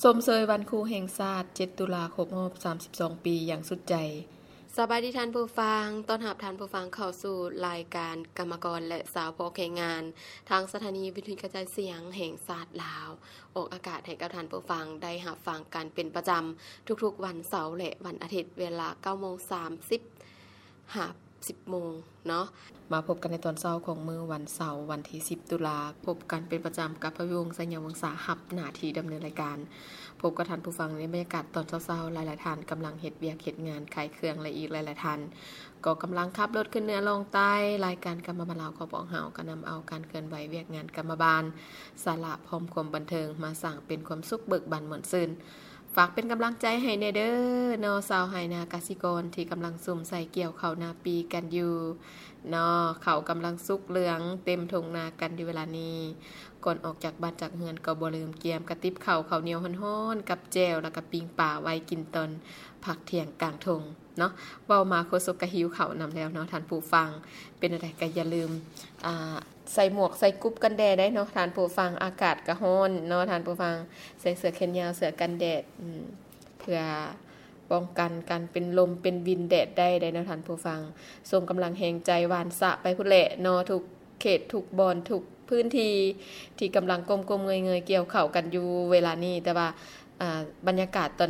ຊົມເຊີຍວັນຄູແຫ່ງຊາດ ເຈັດ ຕຸລາ ຄົບຮອບ ສາມສິບສອງ ປີ ຢ່າງສຸດໃຈ. ສະບາຍດີທ່ານຜູ້ຟັງ, ຕ້ອນຮັບທ່ານຜູ້ຟັງເຂົ້າສູ່ລາຍການກຳມະກອນ ແລະ ຊາວພອກແຮງງານ ທາງສະຖານີວິທະຍຸກະຈາຍສຽງແຫ່ງຊາດລາວ ອອກອາກາດໃຫ້ກັບທ່ານຜູ້ຟັງໄດ້ຮັບຟັງກັນເປັນປະຈຳ ທຸກໆວັນເສົາ ແລະ ວັນອາທິດ ເວລາ ເກົ້າໂມງສາມສິບ ຫາ ສິບໂມງເນາະ. ມາພົບກັນໃນຕອນເຊົ້າຂອງມື້ວັນເສົາ ວັນທີ ສິບ ຕຸລາ, ພົບກັນເປັນປະຈຳກັບພະວິວົງ ໄຊຍະວົງສາ ຮັບໜ້າທີ່ດຳເນີນລາຍການ. ພົບກັບທ່ານຜູ້ຟັງໃນບັນຍາກາດຕອນເຊົ້າໆ, ຫຼາຍໆທ່ານກຳລັງເຮັດວຽກເຮັດງານຂາຍເຄື່ອງ ແລະ ອີກຫຼາຍໆທ່ານກໍກຳລັງຂັບລົດຂຶ້ນເໜືອລ່ອງໃຕ້. ລາຍການກຳມະບານລາວຂອງພວກເຮົາກໍນຳເອົາການເຄື່ອນໄຫວວຽກງານກຳມະບານ, ສາລະພ້ອມຄວາມບັນເທີງ ມາສ້າງເປັນຄວາມສຸກເບີກບານມ່ວນຊື່ນ. ຝາກເປັນກຳລັງໃຈໃຫ້ແດ່ເດີເນາະ ຊາວໄຮ່ນາກະສິກອນທີ່ກຳລັງສຸມໃສ່ກ່ຽວເຂົ້ານາປີກັນຢູ່ເນາະ. ເຂົ້າກຳລັງສຸກເຫຼືອງເຕັມທົ່ງນາກັນຢູ່ເວລານີ້. ກ່ອນອອກຈາກບ້ານຈາກເຮືອນກໍບໍ່ລືມກຽມກະຕິບເຂົ້າ ເຂົ້າໜຽວຮ້ອນໆ ກັບແຈ່ວ ແລ້ວກະປີ້ງປາໄວ້ກິນຕອນພັກທ່ຽງກາງທົ່ງເນາະ. ເວົ້າມາໂຄສົກກະຫິວເຂົ້ານຳແລ້ວເນາະທ່ານຜູ້ຟັງ. ເປັນແນວໃດກະຢ່າລືມ ອ່າ ໃສ່ໝວກໃສ່ກຸບກັນແດດໄດ້ເນາະທ່ານຜູ້ຟັງ, ອາກາດກະຮ້ອນເນາະທ່ານຜູ້ຟັງ. ໃສ່ເສື້ອແຂນຍາວ ເສື້ອກັນແດດ ອືມ ເພື່ອປ້ອງກັນການເປັນລົມເປັນວິນແດດໄດ້ເດ້ເນາະທ່ານຜູ້ຟັງ. ສົ່ງກຳລັງແຮງໃຈຫວ່ານສະໄປພຸ້ນແຫຼະເນາະ ທຸກເຂດທຸກບ່ອນທຸກພື້ນທີ່ ທີ່ກຳລັງກົ້ມໆເງີຍໆກ່ຽວເຂົ້າກັນຢູ່ເວລານີ້. ແຕ່ວ່າ ອ່າ ບັນຍາກາດຕອນ